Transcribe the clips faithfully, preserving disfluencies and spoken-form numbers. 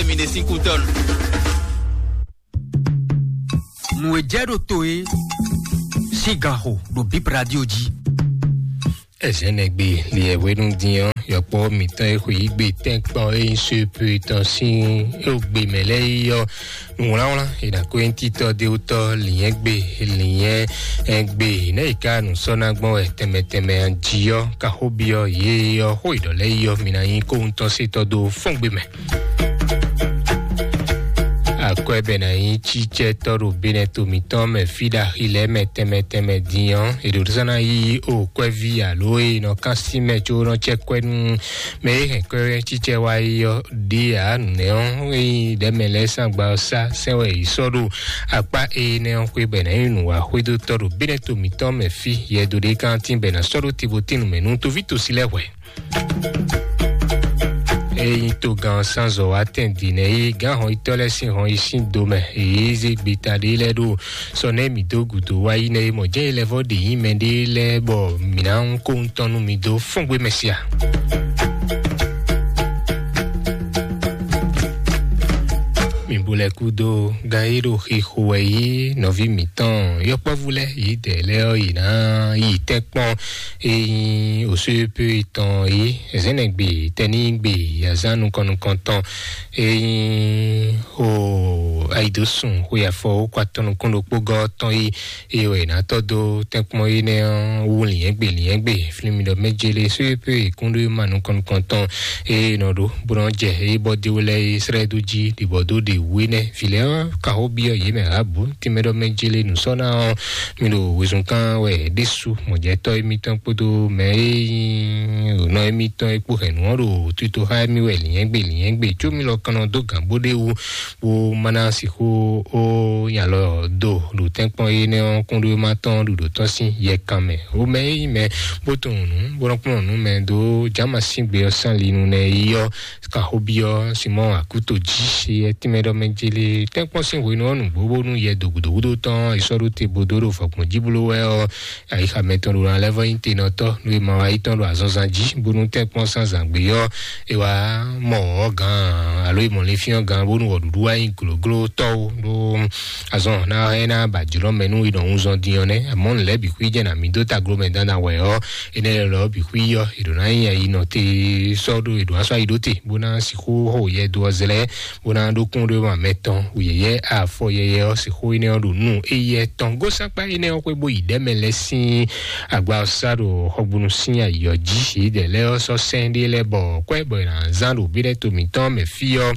Mi ɖe sín kú tɔn. Nǔ e jɛ ɖo to e sín ganxo ɖo Bib Radio jí. Ɛzɛnɛgbe liɛhwenu din ɔ́, yɔkpɔ́ mǐtɔn e xwe yí gbe tɛ́nkpɔ́n e nyí Suepe tɔn sín e gbe mɛ lɛ́ɛ yi ɔ́, nǔwlánwlán e ɖo akwɛ́ntitɔ́ ɖéwútɔ́ lǐnyɛ́gbe lǐnyɛ́gbe nɛ́ yi ka nǔ sɔ́ ná gbɔn wɛ tɛnmɛ tɛnmɛ jí ɔ́, ka xó byɔ́ yě ɔ́, xó e ɖɔ lɛ́ɛ yi ɔ́, mi ná nyí kóhun tɔn se tɔ́ dó fɔ́n gbe mɛ. Akwɛ́ bɛ ná nyí cícɛ́tɔ́ ɖo Benɛto mǐtɔn mɛ fí ɖo axi lɛ́ɛ mɛ tɛnmɛ tɛnmɛ din ɔ́, è ɖǒ zán ná yí o kwɛ́ví alo e nɔ kán sí mɛ có nɔ cɛ kwɛ́ nú mɛ e hɛn kwɛ́ cícɛ́ wá yi ɔ́ ɖe ǎ. Nǔnɛ́ ɔ́, é nyí ɖɛ̌mɛ lɛ́ɛ sín agba ɔ́ sá sɛn wɛ è sɔ́ ɖo akpá énɛ́ ɔ́ xwé bɔ è nǎ nyí nǔwaxwédótɔ́ ɖo Benɛto mǐtɔn mɛ fí. Yɛdo ɖé kántí bɔ è nǎ sɔ́ ɖó tibotínu mɛ nú toví tosi lɛ́ɛ hwɛ̌. Ényí togán ɔ́ sán zɔ wá tɛn din nɛ́ yí gǎn hɔnyitɔ́ lɛ́ɛ sín hɔnyi sín do mɛ, èyí zé gbeta ɖé lɛ́ɛ ɖo sɔ nɛ́ mǐ dó gǔdo wá yi nɛ́ é mɔ jɛ́n é lɛ́ vɔ́ ɖe nyí mɛɖé lɛ́ɛ bɔ mǐ ná kó ŋutɔn nú mi dó fɔ́ngbé mɛ sia. Mi bo lɛ́ kúdó gán e ɖo xixo wɛ yí nɔví mǐtɔn yɔkpɔ́vú lɛ́ɛ yǐdɛɛ lɛ́ɛ ɔ́, yě ná yi tɛ́nkpɔ́n e nyí òsúyépé tɔn é, zɛ̌nɛgbe, tɛnígbe, azǎn nukɔn nukɔntɔn e nyí o ayidosùn xwe afɔ wókpatɔ́ nukún ɖokpó gɔ́ tɔn é, é wɛ è nǎ tɔ́ dó tɛ́nkpɔ́n énɛ́ ɔ́ wú lǐnyɛ́gbe lǐnyɛ́gbe. Flín mi ɖɔ mɛjele sóyépé kúnɖó ma nukɔn nukɔntɔn e nɔ ɖó bó nɔ jɛ é bɔ dé wé lɛ́ɛ é srɛ́ dó jí ɖibɔ dó ɖe wú énɛ́. Vǐ lɛ́ɛ ɔ́, ka xó byɔ́ yě mɛ ǎ bǔ. Tínmɛ ɖɔ mɛ jele nǔ sɔ́ ná ɔ́, mi ɖo wezun kán wɛ ɖésú mɔ̌jɛtɔ́ émítɔn kpódó mɛ e nyí nɔ émítɔn é kpó hɛ̌nnu ɔ́ ɖo tito xá émí wɛ lǐnyɛ́gbe lǐnyɛ́gbe. Có mi lɔ kannɔ dó gǎn bó ɖ'é wú, bó ma ná sixú ó nya lɔ do ɖo tɛ́nkpɔ́n énɛ́ ɔ́ kúnɖóma tɔn ɖuɖǒ tɔn sín yɛkan mɛ. Ó mɛ e nyí mɛ bó tunwun nǔ, bó nɔ kplɔ́n nǔ mɛ dó Jǎma sín gbe ɔ́ sín ali nu nɛ́ yi ɔ́, Kaxóbyɔ́ Simɔ́ɔ Akúto jí, yɛ tínmɛ ɖɔ mɛ jeli tɛ́nkpɔ́n sín hwenu ɔ́ nǔgbó bónú yɛ dǒgúdógúdó tɔn ɔ́, è sɔ́ ɖó te bó dó ɖo vɔ̌gbɔn jí bló wɛ ɔ́, ayixa mɛtɔn ɖo ná lɛ́ vɔ́ nyí tenɔtɔ́, nú è ma wá yi tɔn ɖo azɔnzan jí, bónú tɛ́nkpɔ́n sín azǎn gbé ɔ́, è wá mɔ ɔ̌ gǎn, alo è mɔ linfín ɔ́ gǎn, bónú wɔ̌ɖuɖu wá nyí glǒglótɔ́ ó, ɖó azɔn ná ɛ ná ba jlɔ́ mɛ nú è nɔ wunnzɔn din ɔ́ nɛ́. Amɔ̌ nǔ lɛ́ɛ bǐ xwí jɛ nǎ mì dó tagló mɛ dandan wɛ ɔ́, énɛ́ lɛ́ɛ lɔ bǐ xwí ɔ́, è ɖǒ ná nyí ayi nɔ te sɔ́ ɖó, è ɖǒ ná sɔ́ ayi ɖó te, bó ná sixú xo yɛ dó ɔ́ zlɛ́, bó ná ɖó kún ɖó ma mɛ tɔn wǔyɛ́yɛ́ afɔ yɛyɛ ɔ́, sixú énɛ́ ɔ́ ɖo nú éyɛ́ tɔn. Gósákpá énɛ́ ɔ́ xwé bó yi ɖɛ̌ mɛ lɛ́ɛ sín agba ɔ́ sá ɖo xɔgbónú sín ayǐ ɔ́ jí. Yědɛɛ lɛ́ɛ ɔ́ sɔ́ sɛ́n ɖé lɛ́ɛ bɔ kwɛ́ bɔ è nǎ zán ɖo bí lɛ́ɛ to mǐtɔn mɛ fí ɔ́,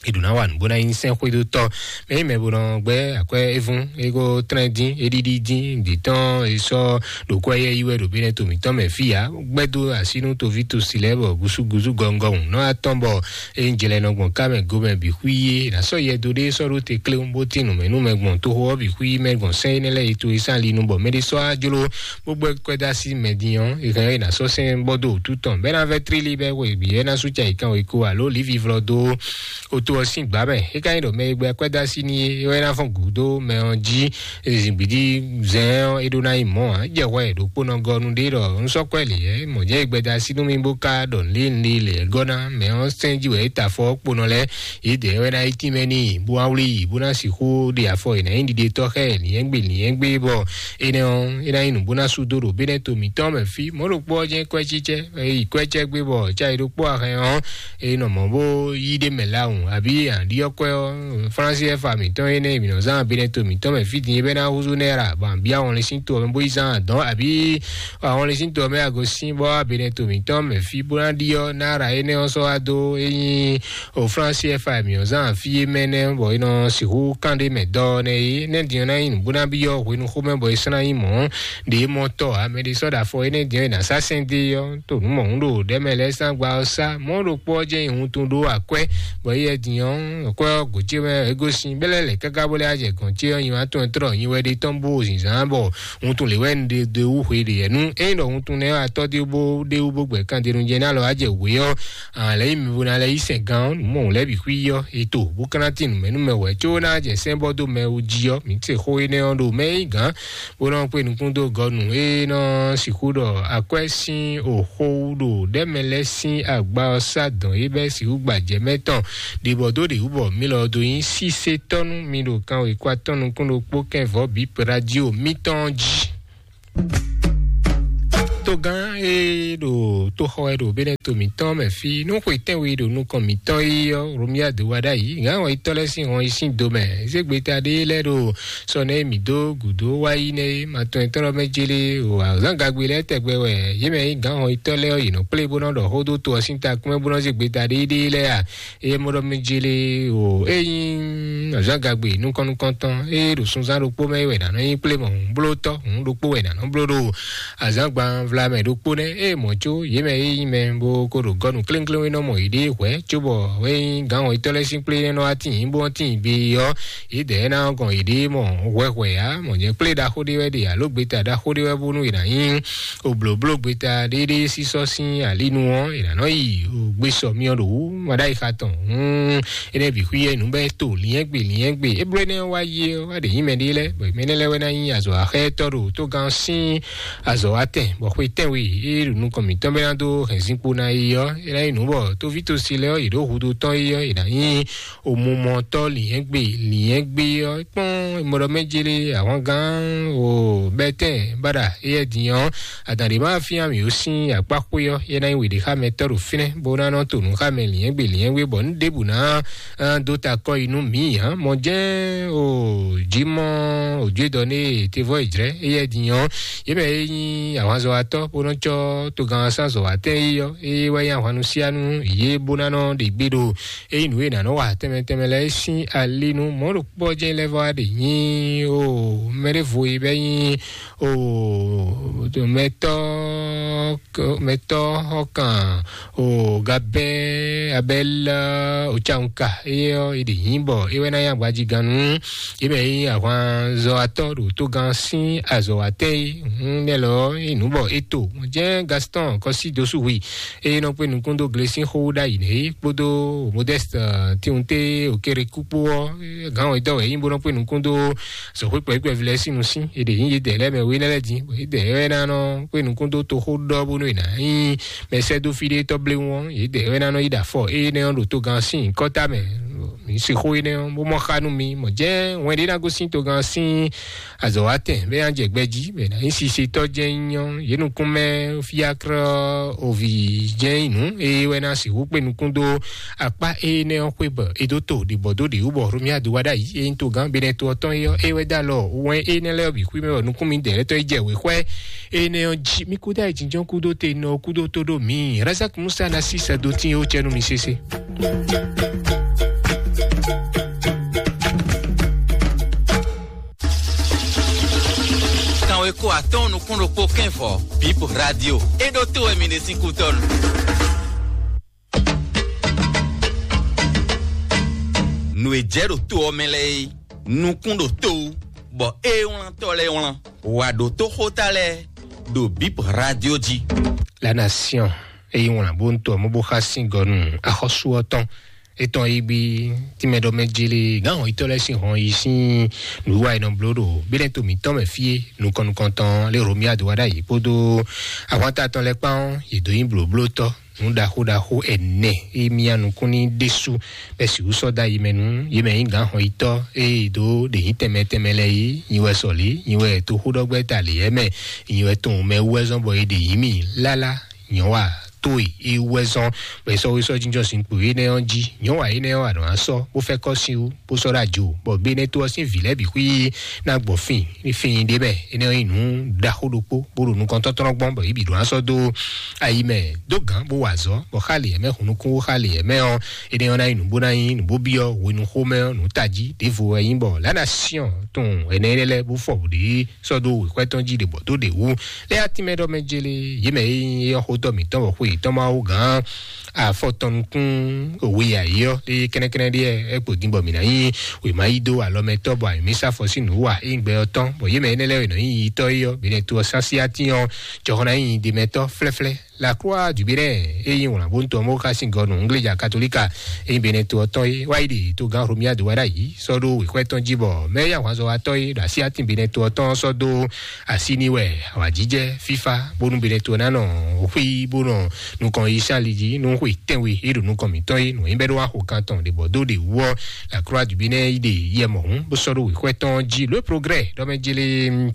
è ɖǒ ná wa nǔ bó ná nyí sɛ́nxwédótɔ́. Mɛ nyí mɛ bó nɔ gbɛ́ akwɛ́ é vún, é ko tlɛ́n dín, é ɖíɖí dín, dǐ tɔn é sɔ́ ɖo kwɛ́ yɛ yi wɛ ɖo bí lɛ́ɛ to mǐtɔn mɛ fí ǎ. Gbɛ́ dó así nú toví tosi lɛ́ɛ bɔ gúsúgúsú gɔngɔhun nɔ atɔn bɔ é nyí jlɛ nɔ gbɔn ká mɛ gomɛ bǐ xwí é. È nǎ sɔ́ yɛ dó ɖé sɔ́ ɖó te kléwún bó tín nǔmɛnúmɛ gbɔn toxo ɔ́ bǐ xwí mɛ gbɔn sɛ́n énɛ́ lɛ́ɛ yi to e sín ali nu bɔ mɛɖé sɔ́ á jló bó gbɛ́ kwɛ́ dó así mɛ din ɔ́, è hɛn ɔ́, è nǎ sɔ́ sɛ́n bɔ́ dó wǔtu tɔn bɔ é ná vɛ́ tlílí bɔ é hwe bǐ é ná sú cayi kan wěkó alo lǐvǐvlɔ́ dó oto ɔ́ sín gbǎ mɛ. É ka nyí ɖɔ mɛ e gbɛ́ kwɛ́ dó así n'i é, é wɛ ná fɔ́n gǔdo mɛ ɔ́ jí. Zǐngbídí zɛn ɔ́, é ɖó ná nyí mɔ̌ ǎ. Jɛ hwɛ ɖokpónɔ gɔ́ nú ɖé ɖɔ un sɔ́ kwɛ́ lě yɛ mɔ̌ jɛ́n e gbɛda sí nú mì bó ka ɖɔ nǔɖé nǔɖé lě gɔ́ ná mɛ ɔ́ sɛ́n jí wɛ é ta afɔ ɔ́ kponɔ lɛ́ɛ. Yědɛɛ wɛ ná yi tínmɛ n'i bó wá wlí yi bó ná sixú ɖe afɔ è nǎ nyí ɖiɖe tɔ́ xá ɛ lǐnyɛ́gbé lǐnyɛ́gbé bɔ énɛ́ ɔ́ é ná nyí nǔ bó ná sú dó ɖo bénɛ́ to mǐtɔn mɛ fí. Mɔ̌ ɖokpó ɔ́ jɛ́n kwɛ́ cícɛ́, é yi kwɛ́ cɛ́ gbé bɔ cá é ɖokpó axɛn ɔ́ é nɔ mɔ̌ bó yí ɖé mɛ lawun, abǐ aɖiɔ́kwɛ́ ɔ́, Flánsi ɛ́ fa mǐtɔn énɛ́ e mǐ nɔ zán abinɛ to mǐtɔn mɛ fí din é bɛ́ ná húzú nɛ́ ɖo abǐ awɔnlin sín to ɔ́ mɛ bó yi zán adɔ̌, abǐ awɔnlin sín to ɔ́ mɛ ago sín bɔ abinɛ to mǐtɔn mɛ fí bó ná ɖiɔ́ ná ɖa énɛ́ ɔ́ sɔ́ wá dó é nyí o Flánsi ɛ́ fa mǐ nɔ zán fí é mɛ nɛ́ bɔ é nɔ sixú kán ɖé mɛ dɔ́ nɛ́ é nɛ́ din ɔ́ ná nyí nǔ bó ná byɔ́ hwenu xomɛ bɔ é sɔ́ ná nyí mɔ̌ ɖě mɔ tɔ́ ǎ. Mɛ ɖé sɔ́ ɖo afɔ énɛ́ din ɔ́ è nǎ sá sɛn dó é ɔ́ to nǔ mɔ̌hun ɖo ɖɛ̌ mɛ lɛ́ɛ sín agba ɔ́ sá. Mɔ̌ ɖokpó ɔ́ jɛ́n nyi wuntun ɖó akwɛ́, bɔ éyɛ́ din ɔ́, akwɛ́ ɔ́ gǒ ce mɛ é gosín bɛ́lɛ́ lɛ̌ káká bó lɛ́ wá jɛ gɔ̌n ce ɔ́ nyi wá tɔn trɔ́ nyi wɛ ɖe tɔn bó zǐnzán bɔ wuntun lě wɛ un ɖe ɖe wú hwe ɖe yɛ nú ényí ɖɔ wuntun nɛ́ atɔ́ dé bó ɖé wú bó gbɛ kan denu jɛ ná lɔ wá jɛ wě ɔ́, alɛ yi mi bo ná lɛ yi sɛn gán ɔ́, nǔ mɔ lɛ́ bǐ xwí ɔ́, e to bó ka ná tín nǔmɛnúmɛ wɛ có ná jɛ sɛ́n bɔ dó mɛ wú jí ɔ́, mǐ se xó énɛ́ ɔ́ ɖo mɛ é nyí gǎn bó nɔ kpé nukún dó gɔ́ nú é nɔ sixú ɖɔ akwɛ́ sín òxó wú ɖo ɖɛ́ mɛ lɛ́ɛ sín agba ɔ́ sá dɔn é bɛ́ sixú gbajɛ mɛ tɔn ɖě bɔ dó ɖě wú bɔ mí lɔ dó nyí sísétɔ́ nú mi ɖo kan wěkwatɔ́ nukún ɖokpó kɛnvɔ́ bǐ radio mítɔn jí. Togán e ɖo tóxɔ wɛ ɖo Benɛto mǐtɔn mɛ fí, nú xwe tɛ́nwe ɖo nukɔn mǐtɔn yi ɔ́, Romia do wa ɖ'ayǐ, gǎn wɔyitɔ́ lɛ́ɛ sín hɔn yi sín do mɛ. Zégbeta ɖé lɛ́ɛ ɖo sɔnɛ mǐ dó gǔdo wá yi nɛ́ é, ma tɔn nyitɔ́ ɖɔ mɛ jélé o, azǎngagbe lɛ́ɛ tɛgbɛ wɛ yě mɛ nyí gǎn wɔyitɔ́ lɛ́ɛ ɔ́, yě nɔ kplé bó nɔ́ ɖɔ xó dó to ɔ́ sín takún mɛ bó nɔ́ zé gbeta ɖéɖéé lɛ́ɛ a? Eye mɔ ɖɔ mɛ jélé o, ényí azǎngagbe nukɔn-nukɔntɔn, eye ɖo sunzán ɖokpó mɛ wɛ nǎ nɔ nyí kplé mɔ hǔn bló tɔ́, hǔn ɖokpó wɛ nǎ nɔ bló ɖo azǎngban vlamɛ ɖokpó nɛ́, eye mɔ̌ có yě mɛ e nyí mɛ bó ko ɖo gɔ́nu kléŋkléŋ e nɔ mɔ yěɖée hwɛ̌, cóbɔ é nyí gǎn wɔyitɔ́ lɛ́ɛ sín kplé nɛ́ nɔ wá tíin bó tíin gbe ɔ́, yědɛɛ ná gɔn yěɖée mɔ hwɛhwɛ ǎ. Mɔ̌ jɛ́n kplé ɖaxó ɖé wɛ ɖe alo gbeta ɖaxó ɖé wɛ bónú è nǎ nyí oblǒbló gbeta ɖéɖé sísɔ́ sín alínu ɔ́, è nǎ nɔ yi gbé sɔ myɔ ɖo wú maɖáyixa tɔn. Hǔn énɛ́ bǐ xwí yɛ nǔ bɛ́ to liɛ́ngbe liɛ́ngbe. É bló énɛ́ wá yi ɔ́, wá ɖě nyí mɛ ɖé lɛ́ɛ, bɔ mɛ énɛ́ lɛ́ɛ wɛ ná nyí azɔ̌ axɛ́tɔ́ ɖo tógán sín azɔ̌ wá tɛn, bɔ xwe tɛ́nwe é ɖo nukɔn mǐtɔn bɛ́ ná dó hɛ̌nzinkpo ná yi ɔ́, é ná nyí nǔ bɔ tóví tosi lɛ́ɛ ɔ́, yě ɖo hudó tɔn yi ɔ́, yě ná nyí omumɔtɔ́ liɛ́ngbe liɛ́ngbe ɔ́. Kpɔ́n mɔɖɔ mɛ jélé ahwangán o bɛtɛn baɖa éyɛ́ din ɔ́, adǎn ɖé ma fín ami ó sín akpá xwé ɔ́, é ná nyí wěɖé xá mɛ tɔ́ ɖo fínɛ́, bó ná nɔ to nǔ xá mɛ liɛ́ngbe liɛ́ngbe, bɔ nú ɖěbǔ ná dó ta kɔ yi nú mǐ ǎ. Mɔ jɛ́n o jǐmɔ òjúedɔ née tevɔ è jlɛ́ éyɛ́ din ɔ́, yě mɛ e nyí ahwanzɔ́watɔ́ bó nɔ cɔ́ togán sán zɔ̌watɛ́n é ɔ́, é wɛ nyí ahwannusianu yě bó ná nɔ ɖe gbé ɖo é nyí nǔ e è nǎ nɔ wa tɛnmɛ tɛnmɛ lɛ́ɛ sín ali nú mɔ̌ ɖokpó ɔ́ jɛ́n lɛ́ vɔ wá ɖe nyí o mɛɖěvo e bɛ́ nyí o mɛtɔ́ mɛtɔ́ xɔkan o gabɛ́ abɛ́lá o cawunka é ɔ́ é ɖe nyí bɔ é wɛ ná nyí agbajigannú é mɛ nyí ahwanzɔ́watɔ́ ɖo tógán sín azɔ̌watɛ́n é. Hǔn nɛ́ lɔ é nǔ bɔ é to jɛ́n Gaston kɔsí dosú hui eye nɔ kpé nukún dó gle sín xó ɖ'ayǐ nɛ é kpódó Modeste Tiwunte Okereku kpó ɔ́, gǎn wɛ̌dɔ́ wɛ é nyí bó nɔ kpé nukún dó zɔ̌xwé kpɛ̌kpɛ́ví lɛ́ɛ sín nusín. È ɖě nyí yědɛɛ lɛ́ɛ mɛ wé nɛ́ lɛ́ɛ din, bɔ yědɛɛ wɛ ná nɔ kpé nukún dó toxó ɖɔ bónú è nǎ nyí mɛ sɛ́ dó fí ɖé tɔ́ bléwún ɔ́, yědɛɛ wɛ ná nɔ yí ɖo afɔ énɛ́ ɔ́ ɖo togán sín kɔ́ta mɛ. Mǐ se xó énɛ́ ɔ́, bó mɔ xá nú mi, mɔ̌ jɛ́n wɛn ɖé ná gosín togán sín azɔ̌watɛn bɛ́ ná jɛ gbɛ jí, bɔ è nǎ nyí sisetɔ́ jɛ́n nyí ɔ́, yě nukún mɛ fiákrɔ́ ovi jɛ́n nyí nǔ, eye wɛ ná sixú kpé nukún dó akpá énɛ́ ɔ́ xwé bɔ è dó to ɖě bɔ dó ɖě wú bɔ Romia do wá ɖ'ayǐ, é nyí togán Benɛto ɔ́ tɔn é ɔ́, é wɛ dó alɔ wɛn énɛ́ lɛ́ɛ ɔ́ bǐ xwí mɛ bɔ nukún mi dɛ̌lɛ́tɔ́ yi jɛ wěxwɛ́ énɛ́ ɔ́ jí. Mi kúdó ayǐjínjɔ́n kúdó te nɔ kúdó tó ɖó mi. Razak Musa ná sí sɛ́ dó tín ó cɛ́nú mi sésé. Kanweko atɔ́ɔ́n nukún ɖokpó kɛ́nvɔ Bib Radio. É ɖó tó wɛ mi ɖe sín kútɔ́nu. Nǔ e jɛ ɖo to ɔ́ mɛ lɛ́ɛ é, nukún ɖo to wú, bɔ ée wlántɔ́ lɛ́ɛ wlán. Wǎ ɖótó xóta lɛ́ɛ ɖo Bib Radio jí. La Nation, eye wlán bó ń tɔ mɔ bó xá sín gɔ nú axɔ́sú ɔ́ tɔn. Etɔn yi gbi tí mɛ ɖɔ mɛ jele gán hɔn yitɔ lɛ sín hɔn yi sín nǔwiwa yi nɔ bló ɖo bínɛ to mǐtɔn mɛ fí é nukɔn nukɔn tɔn lé Romia do wá ɖ'ayǐ kpódó ahwanta tɔn lɛ kpán ɔ́, yě dó nyí blǒblótɔ́ nǔ ɖaxó ɖaxó ɛnɛ e mia nukún ní ɖésú bɛ sixú sɔ́ dó ayi mɛ nú yě mɛ nyí gǎn hɔn yitɔ eye dó ɖě nyí tɛnmɛ tɛnmɛ lɛ yí nyi wɛ sɔlí nyi wɛ toxóɖɔgbɛ́ ta lě ɛmɛ nyi wɛ tɔn mɛ wú wɛ zɔn bɔ è ɖě yí mì lála nyɔ̌wa tó e é wú wɛ zɔn bɔ è sɔ́ wé sɔ́ jínjɔ́n sin kpo énɛ́ ɔ́ jí. Nyɔ̌wa énɛ́ ɔ́ wà nɔ asɔ bó fɛ́ kɔ́ sin wú bó sɔ́ ɖó ajo bɔ bénɛ́ tó ɔ́ sín vǐ lɛ́ɛ bǐ xwí ná gbɔ fín ní fín ɖé mɛ. Énɛ́ ɔ́ nyí nǔ ɖaxó ɖokpó bó ɖo nukɔntɔ́tlɔ́ gbɔn bɔ yě bǐ ɖo asɔ dó ayi mɛ dó gǎn bó wa azɔ̌ bɔ xá lě ɛmɛ hun nukún xá lě ɛmɛ ɔ́. Énɛ́ ɔ́ ná nyí nǔ bó ná nyí nǔ bó byɔ́ hwenu xomɛ ɔ́ nǔ tají ɖěvo wɛ nyí bɔ lǎ ná syɔ́n tun ɛnɛ énɛ́ lɛ́ɛ bó fɔ bǔ ɖě sɔ́ dó wěxwɛ́ tɔn jí ɖě bɔ dó ɖě wú. Lɛ́ atínmɛ ɖɔ mɛ jele yě mɛ e nyí éyɔ́ xótɔ́ mǐtɔn bɔ xwe yětɔn Mawu gǎn afɔtɔn nukún òwe yǎyí ɔ́ lé kɛ́nɛ́kɛ́nɛ́ ɖíe ɛ kpo din bɔ mǐ ná nyí wěma yí dó alɔmɛtɔ́ bɔ ayǐmísá fɔ sín nǔ wa é nyí gbɛ ɔ́ tɔn bɔ yě mɛ énɛ́ lɛ́ɛ e nɔ nyí yitɔ́ é ɔ́ bǐ nɛ́ to ɔ́ sásí atín ɔ́ jɔhɔn ná nyí ɖemɛtɔ́ flɛ́flɛ́ La Croix du Bénin, e nyí wlǎnbóntɔ́ mɔ̌ xá sín gɔ́ nú Ngléja Katolíka, e nyí Benɛto ɔ́ tɔn é, wá yi ɖe togán Romuald Wadagni sɔ́ ɖó wěxwɛ́ tɔn jí, bɔ mɛyá hwanzɔ́watɔ́ é ɖo asyátín Benɛto ɔ́ tɔn sɔ́ dó así n'i wɛ awǎjijɛ fífá, bónú Benɛto ná nɔ xwí bó nɔ nukɔn yi sín ali jí nú xwe tɛ́nwe e ɖo nukɔn mǐtɔn é, nǔ nyí bɛ́ ɖó wá xo kan tɔn ɖě bɔ dó ɖě wú ɔ́, La Croix du Bénin yi ɖe yɛ mɔ̌hún bó sɔ́ ɖó wěxwɛ́ tɔn jí. Le Progrès ɖɔ mɛ jélé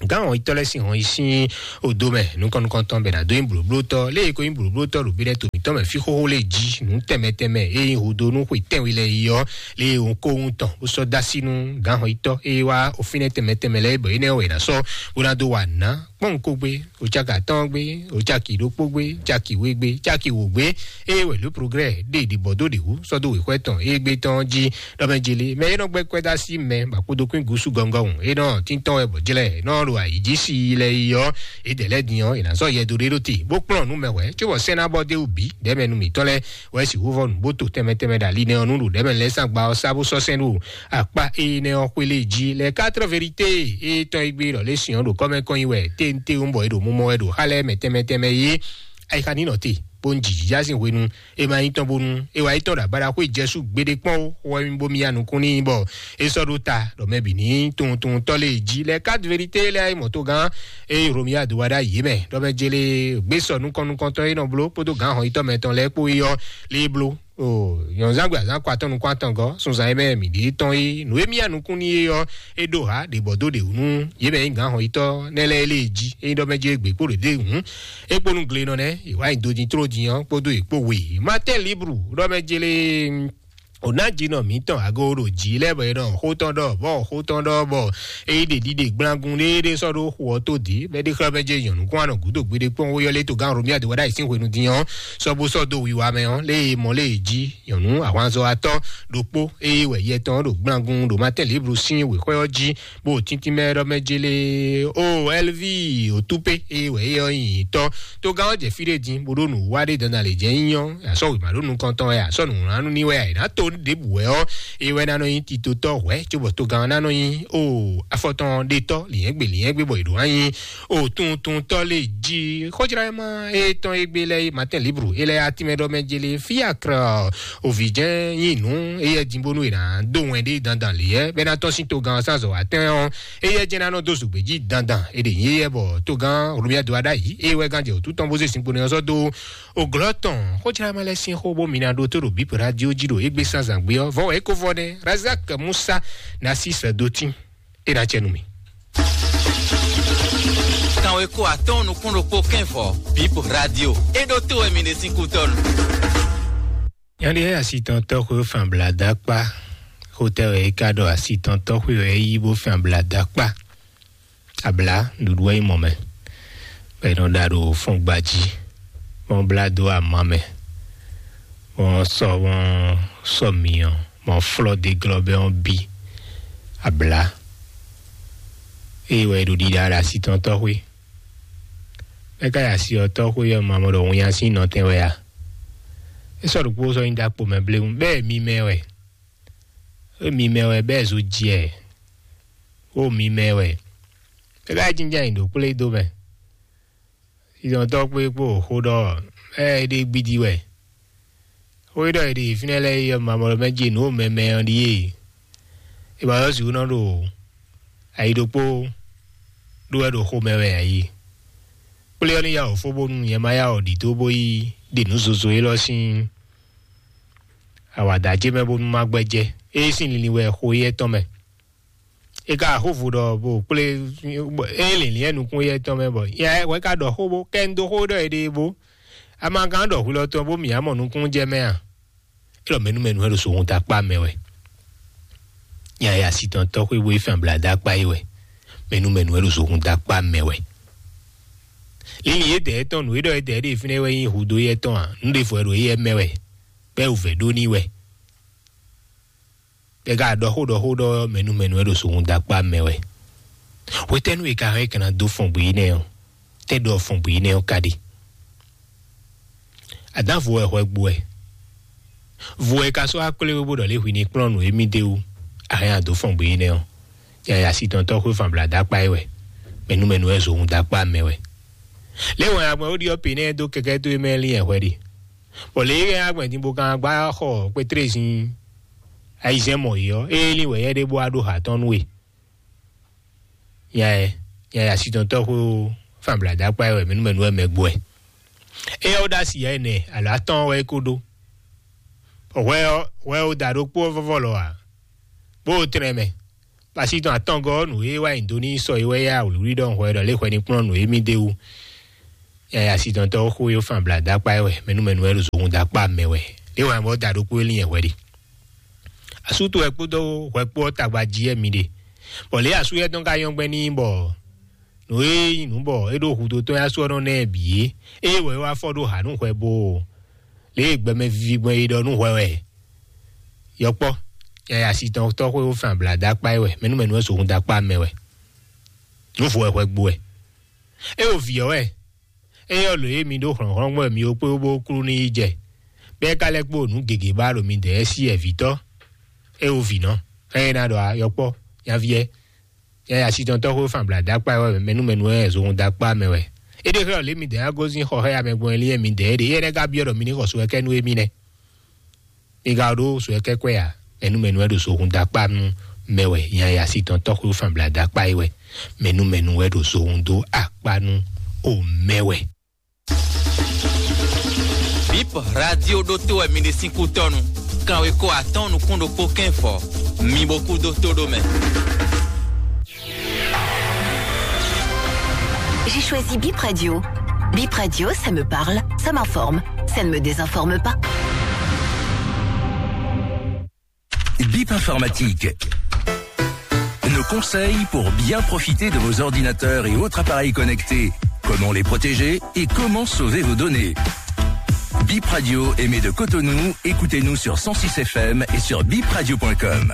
gán hɔnyitɔ́ lɛ́ɛ sín hɔnyi sín odo mɛ nukɔn nukɔntɔn bɛ ná dó nyí blǒblótɔ́ lé e ko nyí blǒblótɔ́ ɖo Benɛto mǐtɔn mɛ fí xóxó lé jí nǔ tɛnmɛ tɛnmɛ e nyí hudo nú xwe tɛ́nwe lɛ́ɛ yi ɔ́, lé e wun kó wun tɔn bó sɔ́ dó así nú gǎnhɔnyitɔ́ e wá ofínɛ́ tɛnmɛ tɛnmɛ lɛ́ɛ bɔ énɛ́ wɛ è nǎ sɔ́ bó ná dó wa nǔ ná kpɔ́n ko gbé, o caki atɔ́ɔ́n gbé, o caki ɖokpó gbé, caki we gbé, caki wǒ gbé, eye wɛ Le Progrès ɖe ɖibɔ dó ɖě wú sɔ́ dó wěxwɛ́ tɔn e gbé tɔn jí ɖɔ mɛ jeli mɛ e nɔ gbɛ́ kwɛ́ dó así mɛ bɔ akpodokún gúsú gɔngɔn hǔn e nɔ tíntɔ́n wɛ bɔ jlɛ́ nɔ ɖo ayǐ jí sí lɛ yi ɔ́, é dɛ lɛ́ɛ din ɔ́, è nǎ zɔ yɛ dó ɖé ɖó te bó kplɔ́n nǔ mɛ hwɛ̌ cóbɔ sɛ́n ná bɔ dó wú bǐ ɖɛ̌mɛ nú mǐtɔn lɛ́ɛ wɛ sixú vɔ nǔ bó to tɛnmɛ tɛnmɛ ɖo ali nɛ́ ɔ́ nú ɖo ɖɛ̌mɛ lɛ́ɛ sín agba ɔ́ sá bó sɔ́ sɛ́n ɖo akpá énɛ́ ɔ́ xwé lé jí. Les Quatre Vérités e tɔn e gbé ɖɔ lé sìn ɔ́ ɖo kɔ́mɛ kɔn nyi wɛ téntewú bɔ è ɖo mumɔ wɛ ɖo xá lɛ́ɛ mɛ tɛnmɛ tɛnmɛ yé. Ayixa ní nɔ te bó ń jìjìjá sín hwenu e ma nyí tɔn bónú é wá yi tɔn ɖo agbada xwé jɛsú gbeɖé kpɔ́n ó, xo wɛ mi bó mi ya nukún n'i bɔ é sɔ́ ɖó ta ɖɔ mɛ bǐ ní tunwun tunwun tɔ́ lé jí. Les Quatre Vérités lɛ́ɛ yi mɔ̌togán eye Romuald Wadagni yě mɛ ɖɔ mɛ jele gbé sɔ nukɔn nukɔntɔn e nɔ bló kpódó gǎn hɔn yitɔ́ mɛtɔn lɛ́ɛ kpó yi ɔ́ lé bló. O nyɔ̌nzán gbe azán kɔ atɔ́ nukún atɔn gɔ́ sunzan e mɛ mǐ ɖe tɔn é nǔ e mì ya nukún n'i é ɔ́, é ɖó hǎ ɖě bɔ dó ɖě wú nú yě mɛ nyí gǎn hɔn yitɔ́ nɛ́ lɛ́ɛ lée jí é nyí ɖɔ mɛ jele gbě kpó ɖě ɖé hǔn. É kpó nú glenɔ nɛ́ è wá nyi do din tló din ɔ́ kpódó è kpó we. Matin Libre ɖɔ mɛ jele ò ná jinɔ mǐtɔn ago ɖo jǐ lɛ́ɛ bɔ è nɔ xó tɔn ɖɔ bɔ xó tɔn ɖɔ bɔ é yí ɖe ɖiɖe gblangun ɖéeɖé sɔ́ ɖó xu ɔ́ tó dǐ bɔ é ɖe xlɛ́ mɛ jɛ nyɔ̌nu kún anɔ gǔdo gbeɖé kpɔ́n wó yɔ́ lé togán Romuald Wadagni sín hwenu din ɔ́ sɔ́ bó sɔ́ dó wiwa mɛ ɔ́ lé e mɔ lé e jí nyɔ̌nu ahwanzɔ́watɔ́ ɖokpó eye wɛ yɛ tɔn ɖo gblangun ɖo Matin Libre sín wěxwɛ́ ɔ́ jí bó tíntín mɛ ɖɔ mɛ jele o Elvi Otupe eye wɛ é ɔ́ nyi tɔ́. Togán ɔ́ jɛ fí ɖé din bó ɖó nǔ wa ɖé dandan lě jɛ nyí ɔ́, asɔ wěma ɖó nukɔn tɔn wɛ, asɔ nǔwlánú ní wɛ, è nǎ to ɖěbǔ wɛ ɔ́, é wɛ ná nɔ nyí titotɔ́ hwɛ̌ cóbɔ togán ɔ́ ná nɔ nyí o afɔtɔn ɖetɔ́ lǐnyɛ́gbe lǐnyɛ́gbe bɔ è ɖǒ wá nyí o tuntuntɔ́ lé jí. Xɔjlá ɛ ma é tɔn é gbé lɛ́ɛ Matin Libre é lɛ́ɛ atínmɛ ɖɔ mɛ jele fí akrɔ òvǐ jɛ́n nyí nǔ éyɛ́ din bónú è nǎ dó wɛn ɖé dandan lě yɛ́ bɛ́ ná tɔ́n sín togán ɔ́ sín azɔ̌ wá tɛ́n ɔ́, éyɛ́ jɛ́n ná nɔ dó zǔgbé jí dandan. È ɖe nyí éyɛ́ bɔ togán Romuald Wadagni é wɛ gán jɛ wǔtu tɔn bó zé zinkpo nɛ́ ɔ́ sɔ́ dó o glɔ́ tɔn. Xɔjlá ɛ ma lɛ́ɛ sín xó bó mi ná ɖó tó ɖo bíp radio jí ɖo égbé sán zǎngbé ɔ́ vɔ́ wɛ é ko vɔ nɛ́ Razak Musa Narcisse Dotin é ná cɛ nú mì. Kanweko atɔ́ɔ́n nukún ɖokpó kɛ́nvɔ bíp radio é ɖó tó wɛ mi ɖe sín kútɔ́nu. Nyɔ̌ɖi ɛ asitɔntɔ́ xwé fán bla dó akpá. Xotɛ wɛ é ká ɖɔ asitɔntɔ́ xwé wɛ é yí bó fán bla dó akpá. Abla ɖuɖu wɛ nyí mɔ mɛ bɔ è nɔ ɖa ɖo fɔngba jí bɔ wọ́n blá dó ama mɛ bɔ wọ́n sɔ wọ́n sɔ myɔ bɔ wọ́n flɔ́ dó glɔ́ bɔ wọ́n bí abla. Eye wɛ è ɖo ɖiɖa ɖo asitɔntɔ́ xwé. Mɛ ka yi asi ɔ́ tɔ́ xwé ɔ́ ma mɔ ɖɔ winnya sín nɔtɛn wɛ a? É sɔ́ ɖokpó sɔ́ nyí ɖó akpo mɛ bléwún bɛ́ mimɛ wɛ. É mimɛ wɛ bɛ́ zo jɛ. Ó mimɛ wɛ. É ka jínjɔ́n ayǐ ɖo kplé dó mɛ. Sísɔntɔ́ kpé kpó xó ɖɔ ɛ é ɖe gbidi wɛ. Xó e ɖɔ è ɖe fínɛ́ lɛ́ɛ é ɔ́ ma mɔ ɖɔ mɛ jí nǔ mɛmɛ ɔ́ ɖíe. È ma yɔ sixú nɔ ɖo ayi ɖokpó ɖó wɛ ɖo xomɛ wɛ ayi. Kplé ɔ́ ní yá wǒ fó bónú nyɛ ma yá wǒ ɖidó bó yi ɖe nǔ zozo élɔ́ sín awǎda ce mɛ bónú má gbɛ́ jɛ. É sín linlin wɛ xo éyɛ́ tɔn mɛ. É ka xó vo ɖɔ bó kplé é lǐnlín ɛ nukún éyɛ́ tɔn mɛ bɔ nyɛ wɛ ka ɖɔ xó bó kɛ un dó xó ɖɔ è ɖe bó. Ama gán ɖɔ hwilɔ tɔn bó mǐ á mɔ nukún jɛ mɛ a? É ɖɔ mɛnú mɛnú wɛ ɖo sohun dó akpá mɛ wɛ. Nya e asitɔntɔ́ xwé bó yi fɛn abladá akpá é wɛ. Mɛnú mɛnú wɛ ɖo sohun dó akpá mɛ wɛ. Lili yědɛɛ tɔn nǔ e ɖɔ yědɛɛ ɖe fínɛ́ wɛ nyí hudó yɛ tɔn a? Nǔ ɖěvo wɛ ɖo éyɛ́ mɛ wɛ. Bɛ́ wǔvɛ́ ɖó n'i wɛ. Bɛ́ ka ɖɔ xó ɖɔ xó ɖɔ mɛnú mɛnú wɛ ɖo sohun dó akpá mɛ wɛ. Hwetɛ́nu e ka hɛn é ka ná dó fɔn gbě énɛ́ ɔ́? Tɛ́ ɖɔ fɔn gbě énɛ́ ɔ́ ka ɖe? Adǎn vo wɛ hwɛ gbo wɛ. Vo wɛ ka sɔ́ wá kplé we bó ɖɔ lě hwi ní kplɔ́n nǔ émí d'é wú. A hɛn a dǒ fɔn gbě énɛ́ ɔ́? Yaya sitɔntɔ́ xwé fan bla dó akpá é wɛ. Mɛnú mɛnú wɛ zohun dó akpá mɛ wɛ. Lě wɛn agbɛn ó ɖiɔ pě nɛ́ dó kɛkɛ́ towe mɛ lín ɛhwɛ ɖe. Bɔ lě e agbɛn din bó kan gbá xɔ kpétrezin ayizɛ́n mɔ yě ɔ́, é lín wɛ yɛ ɖé bó wá ɖó ha tɔn nú we. Nya ɛ, nya ɛ asitɔntɔ́ xó fanbladakpa wɛ mɛnúmɛnú wɛ mɛ gbɔ ɛ. Éyɛ́ ó ɖó asi yɛ nɛ alo atɔ́ɔ́n wɛ é kó ɖó. Hwɛ ɔ́, hwɛ ó da ɖokpó ɔ́ vɔ́vɔ́ lɔ ǎ, bó ó tlɛn mɛ. Pasítɔn atɔngɔ́ ɔ́, nǔ e wá nyi do n'i sɔ é wɛ yá wlǐwlí ɖɔ un hwɛ ɖɔ lě hwɛ ní kplɔ́n nǔ e mì d'é wú. Yaya asitɔntɔ́ xó e fan bla dó akpá ɛ wɛ, mɛnú mɛnú wɛ ɖo zohun dó akpá mɛ wɛ. Lě hwɛ bɔ da ɖokpó e lín hwɛ ɖe. Asú towe kpódó hwɛ kpó ɔ́ tagba jí wɛ mi ɖe. Bɔ lě asú yɛ tɔn ka nyɔ́ gbɛn n'i bɔ nǔ e nyí nǔ bɔ é ɖo hudó tɔn yá sú ɔ́ nɔ ná ɛ bǐ é. Ée wɛ é wá fɔ ɖó hǎ nú hwɛ bó lě e gbɛmɛ vivi gbɔn é ɖɔ nú hwɛ wɛ. Yɔkpɔ́, yaya asitɔntɔ́ xó e fan bla dó akpá ɛ wɛ, mɛnú mɛnú wɛ zohun dó akpá mɛ wɛ. Nǔ vo wɛ hwɛ gbo wɛ. É wo vǐ ɔ́ wɛ. Éyɛ́ lǒ e mi ɖó hlɔ̌nhlɔ́n gbɔn mi ó kpé bó klú n'i yi jɛ, bɔ é ka lɛ́ kpó nǔ gěgé ba ɖo midɛɛ sí ɛvǐtɔ́. É wo vǐ nɔ, xɛ́ é ná ɖɔ yɔkpɔ́, nyaví ɛ. Yaya asitɔntɔ́ xó fan bla dó akpá ɛ wɛ, mɛnú mɛnú wɛ zohun dó akpá mɛ wɛ. É ɖe xlɛ́ lě midɛɛ ná gosín xɔ xá ya mɛ gbɔn lílɛ́ midɛɛ ɖe, éyɛ́ lɛ́ ka byɔ́ ɖɔ mi ní xɔ so wɛ kɛ nú émí nɛ́. Mi ka ɖó so wɛ kɛ́kwɛ́ ǎ, mɛnú mɛnú wɛ ɖo zohun dó akpá nú mɛ wɛ, yaya asitɔntɔ́ xó fan bla dó akpá é wɛ, mɛnú mɛnú wɛ ɖo zohun dó akpá nú o mɛ wɛ. Bip radio ɖótó wɛ mi ɖe sín kú tɔnu. Kanwe ko atɔn nukún ɖokpó kɛn fɔ. Mi bo kú dó tó ɖó mɛ. J'ai choisi Bip Radio. Bip Radio, ça me parle, ça m'informe, ça ne me désinforme pas. Bip informatique. Nos conseils pour bien profiter de vos ordinateurs et autres appareils connectés. Comment les protéger et comment sauver vos données. Bip Radio émet de Cotonou. Écoutez-nous sur cent six F M et sur bip radio point com.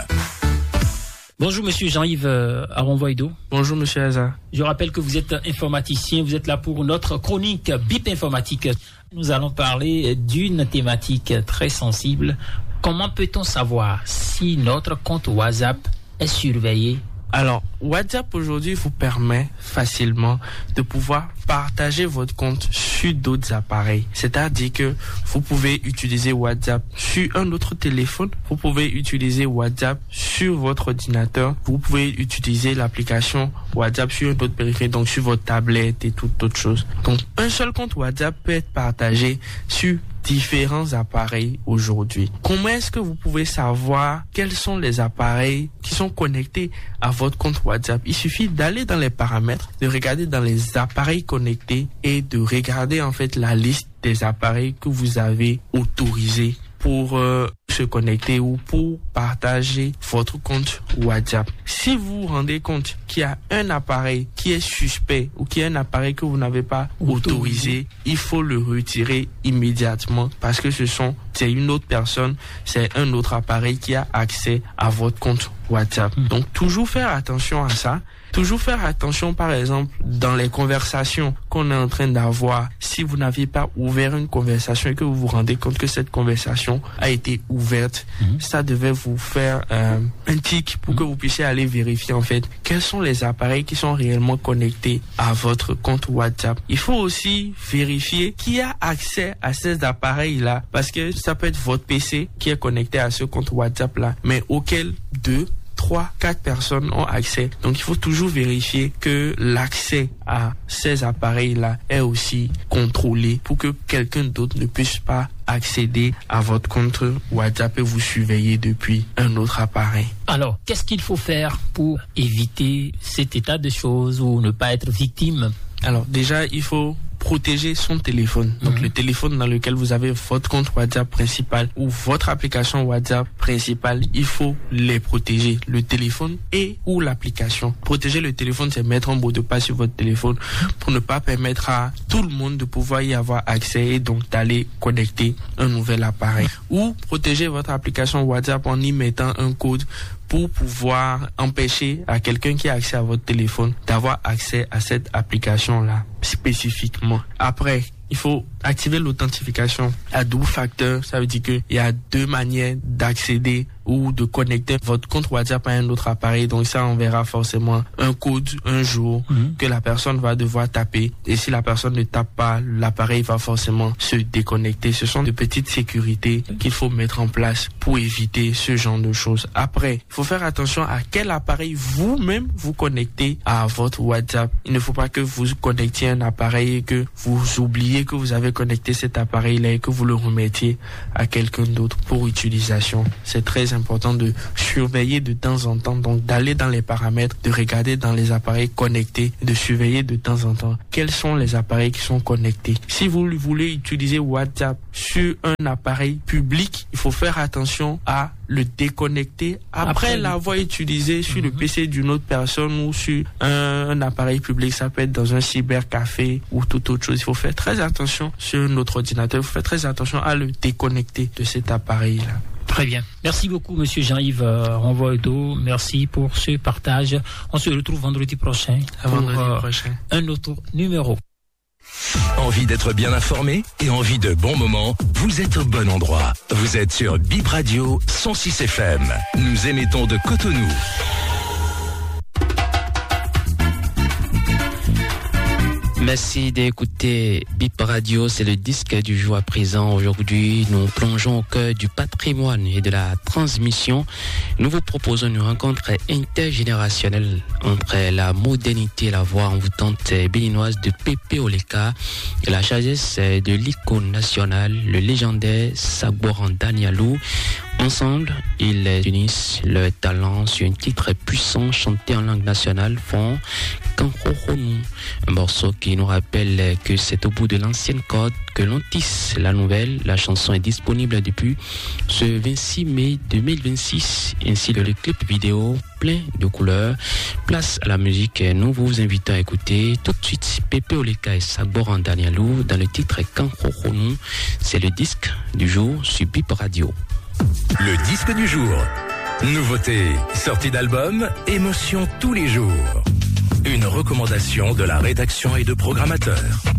Bonjour Monsieur Jean-Yves euh, Aronvoido. Bonjour Monsieur Aza. Je rappelle que vous êtes informaticien, vous êtes là pour notre chronique Bip Informatique. Nous allons parler d'une thématique très sensible. Comment peut-on savoir si notre compte WhatsApp est surveillé ? Alors, WhatsApp aujourd'hui vous permet facilement de pouvoir partager votre compte sur d'autres appareils. C'est-à-dire que vous pouvez utiliser WhatsApp sur un autre téléphone, vous pouvez utiliser WhatsApp sur votre ordinateur, vous pouvez utiliser l'application WhatsApp sur un autre périphérique, donc sur votre tablette et toute autre chose. Donc, un seul compte WhatsApp peut être partagé sur différents appareils aujourd'hui. Comment est-ce que vous pouvez savoir quels sont les appareils qui sont connectés à votre compte WhatsApp ? Il suffit d'aller dans les paramètres, de regarder dans les appareils connectés et de regarder en fait la liste des appareils que vous avez autorisés pour euh, se connecter ou pour partager votre compte WhatsApp. Si vous vous rendez compte qu'il y a un appareil qui est suspect ou qu'il y a un appareil que vous n'avez pas autorisé, il faut le retirer immédiatement parce que ce sont, c'est une autre personne, c'est un autre appareil qui a accès à votre compte WhatsApp. Donc toujours faire attention à ça. Toujours faire attention, par exemple, dans les conversations qu'on est en train d'avoir. Si vous n'aviez pas ouvert une conversation et que vous vous rendez compte que cette conversation a été ouverte, ça devait vous faire euh, un tic pour que vous puissiez aller vérifier en fait quels sont les appareils qui sont réellement connectés à votre compte WhatsApp. Il faut aussi vérifier qui a accès à ces appareils-là parce que ça peut être votre P C qui est connecté à ce compte WhatsApp-là, mais auquel deux trois, quatre personnes ont accès. Donc il faut toujours vérifier que l'accès à ces appareils-là est aussi contrôlé pour que quelqu'un d'autre ne puisse pas accéder à votre compte WhatsApp et vous surveiller depuis un autre appareil. Alors, qu'est-ce qu'il faut faire pour éviter cet état de choses ou ne pas être victime ? Alors déjà, il faut protéger son téléphone. Donc le téléphone dans lequel vous avez votre compte WhatsApp principal ou votre application WhatsApp principale, il faut les protéger. Le téléphone et ou l'application. Protéger le téléphone, c'est mettre un mot de passe sur votre téléphone pour ne pas permettre à tout le monde de pouvoir y avoir accès et donc d'aller connecter un nouvel appareil. Ou protéger votre application WhatsApp en y mettant un code pour pouvoir empêcher à quelqu'un qui a accès à votre téléphone d'avoir accès à cette application-là spécifiquement. Après, il faut activer l'authentification à double facteur. Ça veut dire qu'il y a deux manières d'accéder ou de connecter votre compte WhatsApp à un autre appareil. Donc ça, on verra forcément un code un jour que la personne va devoir taper. Et si la personne ne tape pas, l'appareil va forcément se déconnecter. Ce sont de petites sécurités qu'il faut mettre en place pour éviter ce genre de choses. Après, il faut faire attention à quel appareil vous-même vous connectez à votre WhatsApp. Il ne faut pas que vous connectiez un appareil et que vous oubliez que vous avez connecté cet appareil-là et que vous le remettiez à quelqu'un d'autre pour utilisation. C'est très important de surveiller de temps en temps, donc d'aller dans les paramètres, de regarder dans les appareils connectés, de surveiller de temps en temps quels sont les appareils qui sont connectés. Si vous voulez utiliser WhatsApp sur un appareil public, il faut faire attention à le déconnecter après l'avoir utilisé sur le P C d'une autre personne ou sur un, un appareil public. Ça peut être dans un cybercafé ou toute autre chose. Il faut faire très attention sur notre ordinateur. Il faut faire très attention à le déconnecter de cet appareil-là. Très bien. Merci beaucoup, monsieur Jean-Yves euh, Renvoido. Merci pour ce partage. On se retrouve vendredi prochain pour vendredi euh, prochain. Un autre numéro. Envie d'être bien informé et envie de bons moments ? Vous êtes au bon endroit. Vous êtes sur Bip Radio cent six F M. Nous émettons de Cotonou. Merci d'écouter Bip Radio, c'est le disque du jour à présent. Aujourd'hui, nous plongeons au cœur du patrimoine et de la transmission. Nous vous proposons une rencontre intergénérationnelle entre la modernité et la voix envoûtante béninoise de Pépé Oleka et la sagesse de l'icône nationale, le légendaire Sagboran Danielou. Ensemble, ils unissent leur talent sur un titre puissant chanté en langue nationale, Fon Kankohonou. Un morceau qui nous rappelle que c'est au bout de l'ancienne corde que l'on tisse la nouvelle. La chanson est disponible depuis ce vingt-six mai deux mille vingt-six, ainsi que le clip vidéo plein de couleurs. Place à la musique, nous vous invitons à écouter tout de suite Pépé Oleka et Sagboran Danielou dans le titre Kankohonou. C'est le disque du jour sur Bip Radio. Le disque du jour. Nouveauté, sortie d'album, émotion tous les jours. Une recommandation de la rédaction et de programmateurs.